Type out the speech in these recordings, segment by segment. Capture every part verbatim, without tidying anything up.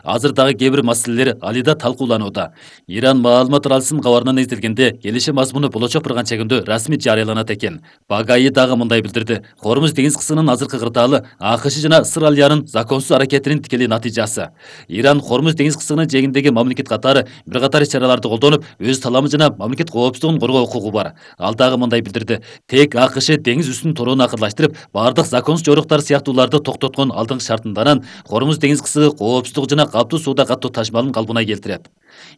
азыр дагы кээ бир маселелер алида талкууланууда. Иран маалымат аралсын кабарынан эзделгенде келишим мазмуну болочок бир канча күндө расмий жарыяланат экен. Багаи дагы мындай билдирди: Хормуз деңиз кысынын азыркы кырдаалы АКШ жана Ысыралиянын законсуз аракетинин тикелей натыйжасы. Иран Хормуз деңиз кысынын жээгиндеги мамлекет катары бир катар иш-чараларды колдонуп, өз таламы жана мамлекет коопсуздугун коргоо укугу бар. Ал дагы мындай билдирди: тек АКШ деңиз үстүнүн торуун акырлаштырып, бардык законсуз жоруктар сыяктууларды токтоткон алдыңкы шартынданан Хормуз деңиз кысыгы коопсуздугу жана каптуу сууда каттуу ташмалын калыбына келтирет.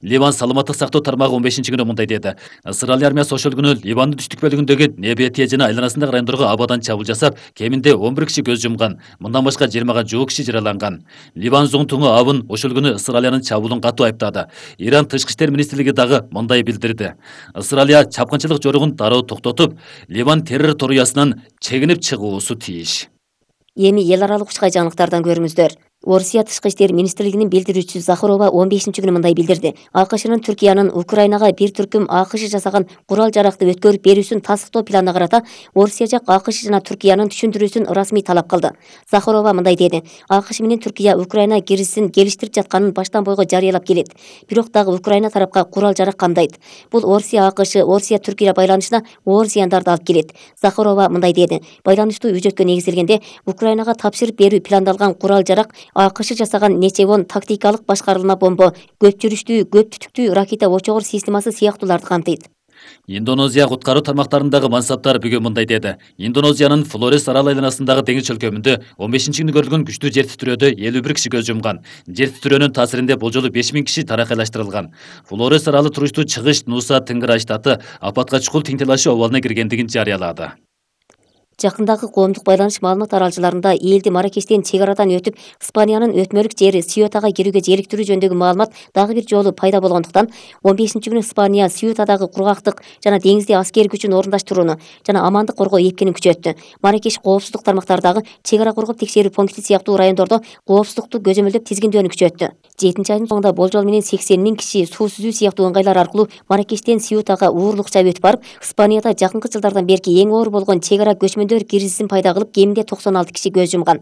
Ливан саламаттык сактоо тармагы он бешинчи күнү мындай деди: Ысыралия армиясы ошол күнү Ливандын түштүк бөлүгүндөгү Небетия жана айланасындагы райондорго абадан чабуул жасап, кеминде он бир киши көз жумган, мындан башка жыйырмага жуuk киши жараланган. Ливан зоңтуңу абын ошол күнү Ысыралиянын чабуулун катуу айыптады. Иран тышкы иштер министрлиги дагы мындай билдирди: Ысыралия чапкынчылык жоругун дароо токтотуп, Ливан террор торуясынан чегинип чыгуусу тийиш. Эми эл аралык учкай жаңылыктардан көрүңүздөр. Орусия тышкы иштер министрлигинин билдирүүчүсү Захарова он бешинчи күнү мындай билдирди: АКШнын Түркиянын Украинага бир түркүм АКШ жасаган курал жаракты өткөрүп берүүсүн тастыктоо планына карата Орусия жак АКШ жана Түркиянын түшүндүрүүсүн расмий талап кылды. Захарова мындай деди: АКШ менен Түркия Украина киризисин келиштирип жатканын баштан бойго жарыялап келет. Бирок дагы Украина тарапка курал жарак камдайт. Бул Орусия АКШ, Орусия Түркия байланышына оор зыяндарды алып келет. Захарова мындай деди: байланыштуу үжөткө негизделгенде Украинага тапшырып берүү пландалган курал жарак АКШ жасаган нече он тактикалык башкарылма бомба, көп жүрүштүү, көп түтүктүү ракета очогор системасы сыяктууларды камтыйт. Индонезия куткаруу тармактарындагы мансаптар бүгүн мындай деди: Индонезиянын Флорес арал айланасындагы деңиз чөлкөмүндө он бешинчи күнү көрүлгөн күчтүү жер титирөөдө элүү бир киши көз жумган. Жер титирөөнүн таасиринде болжолу беш миң киши таракайлаштырылган. Флорес аралы туруштуу чыгыш Нуса Тенгерай штаты апатка чукул Тиңтелаши абалына киргендигин жарыялады. Жакындагы коомдук байланыш маалымат аралчыларында элди Маракештен чек арадан өтүп Испаниянын өтмөлүк жери Сьютага кирүүгө желиктирүү жөнүндөгү маалымат дагы бир жолу пайда болгондуктан он бешинчи күнү Испания Сьютадагы кургактык жана деңизде аскер күчүн орундаштырууну жана амандык коргоо эпкенин күчөттү. Маракеш коопсуздук тармактардагы чек ара коргоп текшерүү пункти сыяктуу райондордо коопсуздукту көзөмөлдөп тизгиндөөнү күчөттү. жетинчи айдын соңунда болжол менен сексен миң киши суу сүзүү сыяктуу ыңгайлар аркылуу Маракештен Сьютага уурлукча өтүп барып, Испанияда жакынкы жылдардан берки эң оор болгон чек ара көчмөндөр кризисин пайда кылып, кеминде токсон алты киши көз жумган.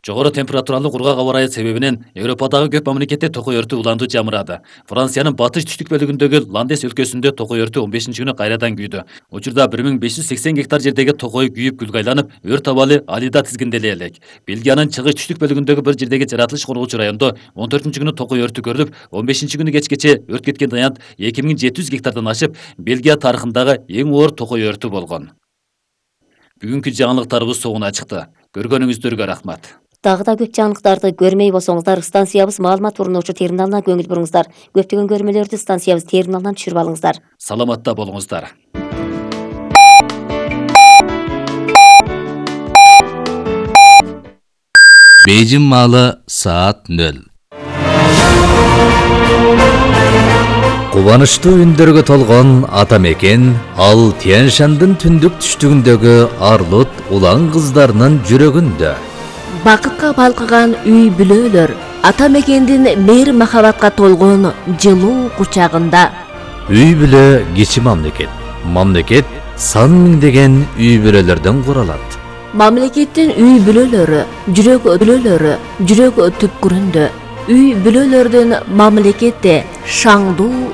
Жогору температуралуу кургак аба ырайы себебинен Европадагы көп мамлекетте токой өртү уланду жамырады. Франциянын батыш түштүк бөлүгүндөгү Ландес өлкөсүндө токой өртү он бешинчи күнү кайрадан күйдү. Учурда бир миң беш жүз сексен гектар жердеги токой күйүп күлгө айланып, өрт абалы алида тизгинделе элек. Бельгиянын чыгыш түштүк бөлүгүндөгү бир жердеги жаратылыш коргоочу райондо он төртүнчү күнү токой өртү көрүлүп, он бешинчи күнү кечкече өрт кеткен аянт эки миң жети жүз гектардан ашып, Бельгия тарыхындагы эң оор токой өртү болгон. Бүгүнкү жаңылыктарыбыз соңуна чыкты. Көргөнүңүздөргө рахмат. Дагы да көп жаңылыктарды көрмөй болсоңуздар, станциябыз маалымат урунуучу терминалына көңүл буруңуздар. Көптөгөн көрмөлөрдү станциябыз терминалынан түшүрүп алыңыздар. Саламатта болуңуздар. Бейжин маалы саат нөл. Кубанычтуу үндөргө толгон ата мекен ал Тянь-Шандын түндүк түштүгүндөгү арлут улан кыздарынын жүрөгүндө. Бакытка балкыган үй бүлөлөр ата мекендин мейир махабатка толгон жылуу кучагында. Үй бүлө кичи мамлекет. Мамлекет сан миңдеген үй бүлөлөрдөн куралат. Мамлекеттин үй бүлөлөрү, жүрөк бүлөлөрү жүрөк түпкүрүндө. Үй бүлөлөрдүн мамлекетте шаңдуу